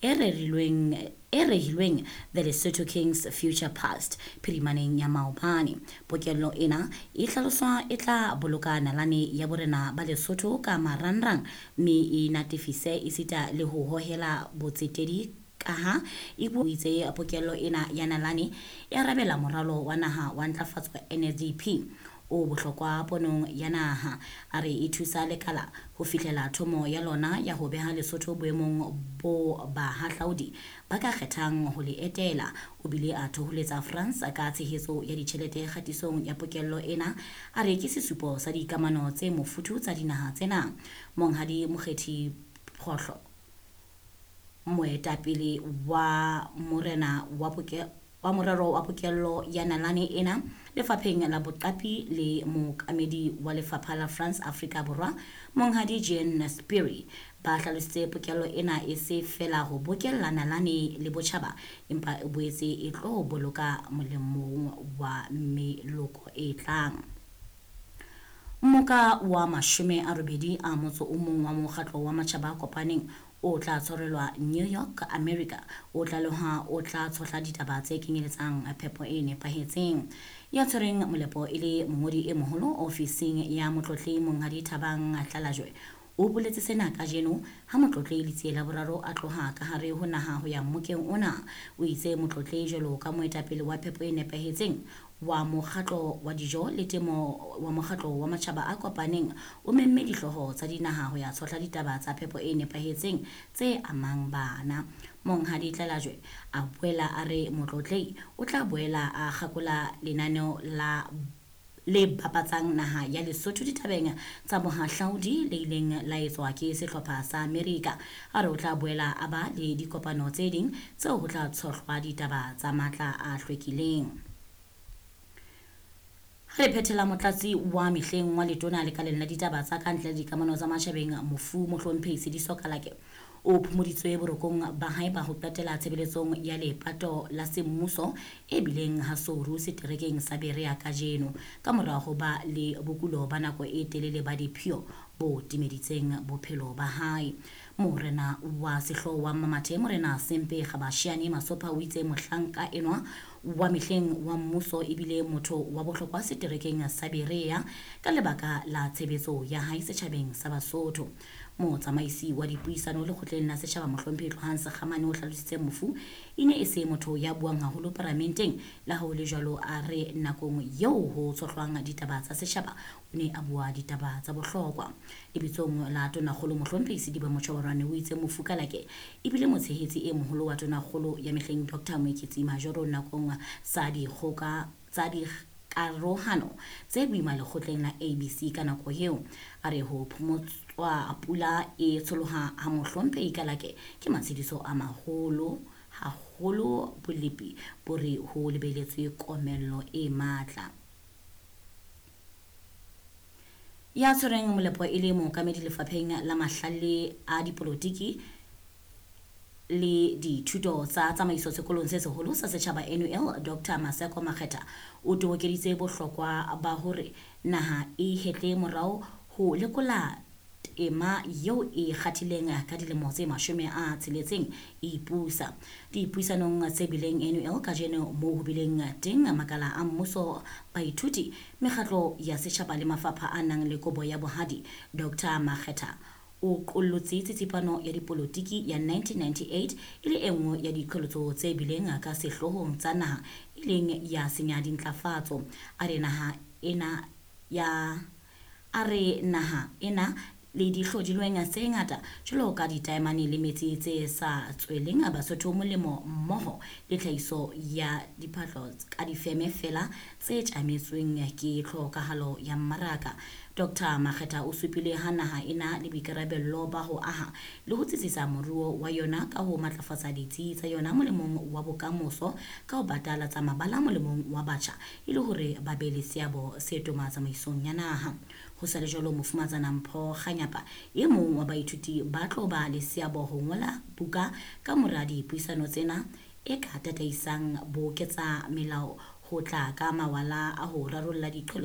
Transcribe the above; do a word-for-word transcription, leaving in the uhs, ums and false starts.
e rerilweng e rehilweng The Lesotho King's Future Past phirimaneng ya maobane. Pokello ena e hlaloswa e tla boloka nalane ya borena ba Lesotho ka marangrang mme e natefise esita le ho hohela botsetedi kaha e itse pokello ena ya nalane e arabela moralo wa naha wa ntlafatso N S D P o bohlokwa ponong ya naha. A re e thusa lekala ho fihlela thomo ya lona ya ho beha Lesotho boemong bo bahahlaudi ba ka kgethang ho le etela. O bile a thoholetsa France ka tshehetso ya ditjhelete kgatisong ya pokello ena, a re ke sesupo sa dikamano tse mofuthu tsa dinaha tsena. Monghadi Mokgethi Phohlo, moetapele wa morena wa poke wa morero wa pokello ya nalane ena lefapheng la boqapi le mookamedi wa lefapha la France Afrika Borwa Monghadi Jean Spiri ba hlalositse pokello ena e se fela ho bokella nalane le botjhaba empa e boetse e tlo boloka molemong wa meloko e tlang. Mmoka wa mashome a robedi a motso o mong wa mokgatlo wa matjhaba a kopaneng o tla tshwarelwa New York, America. O tlaleha o tla tshohla ditaba tse kenyeletsang phepo e nepahetseng. Ya tshwereng molepo e le mongodi e moholo ofising ya motlotlehi Monghadi Thabang Tlalajwe o boletse sena kajeno ha motlotlehi Letsie la Boraro a tloha ka hare ho naha ho ya mmokeng ona. O itse motlotlehi jwalo ka moetapele wa phepo e nepahetseng wa mokgatlo wa dijo le temo wa mokgatlo wa matjhaba a kopaneng o memme dihlooho tsa dinaha ho ya tshohla ditaba tsa phepo e nepahetseng tse amang bana. Monghadi Tlalajwe a boela a re motlotlehi o tla boela a kgakola lenaneo la le bapatsang naha ya Lesotho ditabeng tsa bohahlaudi le ileng la etswa ke sehlopha sa Amerika. A re o tla boela a ba le dikopano tse ding tseo ho tla tshohlwa ditaba tsa matla a hlwekileng. Re phethela motlatsi wa mehleng wa letona lekaleng la ditaba tsa ka ntle le dikamano tsa matjhabeng mofu Mohlomphehi Sediso Kalake o phomoditswe borokong ba hae ba ho qetela tshebeletsong ya lepato la semmuso e bileng ha Souru seterekeng sa Berea kajeno ka mora ho ba le bokulo ba nako e telele ba diphio bo timeditseng bophelo ba hae. Morena wa sehlooho wa Mmamathe Morena Sempe Kgabashiane Masopha o itse mohlanka enwa wa mehleng wa mmuso ebile motho wa bohlokwa seterekeng sa Berea ka lebaka la tshebetso ya hae setjhabeng sa Basotho. Motsamaisi wa dipuisano lekgotleng la setjhaba Mohlomphehi Tlohang Sekgamane o hlalositse mofu e ne e se motho ya buang haholo paramenteng, le ha ho le jwalo a re nakong eo ho tshohlwang ditaba tsa setjhaba o ne a bua ditaba tsa bohlokwa. Lebitsong la Tonakgolo Mohlomphehi Sediba Motjhobarwane o itse mofu Kalake ebile motshehetsi e moholo wa Tonakgolo ya mehleng Doctor Moeketsi Majoro nakong sa dikgoka tsa dikarohano tse boima lekgotleng la A B C ka nako eo. A re ho phomotswa pula e tsholoha ha Mohlomphehi Kalake ke matshediso a maholo haholo bolepi bo re ho lebeletswe komello e matla. Ya tshwereng molepo e le mookamedi lefapheng la mahlale a dipolotiki le dithuto tsa tsamaiso sekolong se seholo sa setjhaba N U L Doctor Maseko Makgetha o tobokeditse bohlokwa ba hore naha e hetle morao ho lekola tema eo e kgathileng ka dilemo tse mashome a tsheletseng e ipusa. Dipuisanong tse bileng N U L kajeno moo ho bileng teng makala a mmuso, baithuti, mekgatlo ya setjhaba le mafapha a nang le kobo ya bohadi, Doctor Makgetha o qollotse tsitsipano ya dipolotiki ya nineteen ninety-eight e le e nngwe ya diqholotso tse bileng ka sehloohong tsa naha e leng ya senya dintlafatso. A re naha ena ya a re naha ena le dihlodilweng tse ngata jwalo ka ditaemane le metsi tse sa tsweleng Basotho molemo mmoho le tlhahiso ya diphahlo ka difeme feela tse tjametsweng ke tlhokahalo ya mmaraka. Doctor Makgetha o supile ha naha ena le boikarabello ba ho aha le ho tsitsisa moruo wa yona ka ho matlafatsa ditsi tsa yona molemong wa bokamoso ka ho batalatsa mabala molemong wa batjha e le hore ba be le seabo se toma tsamaisong ya naha. Ho sa le jwalo, Mofumatsana Mpho Kganyapa e mong wa baithuti ba tlo ba le seabo ho ngola buka ka mora dipuisano tsena e ka tataisang boketsa melao ho tla ka mawala a ho rarolla diqholotso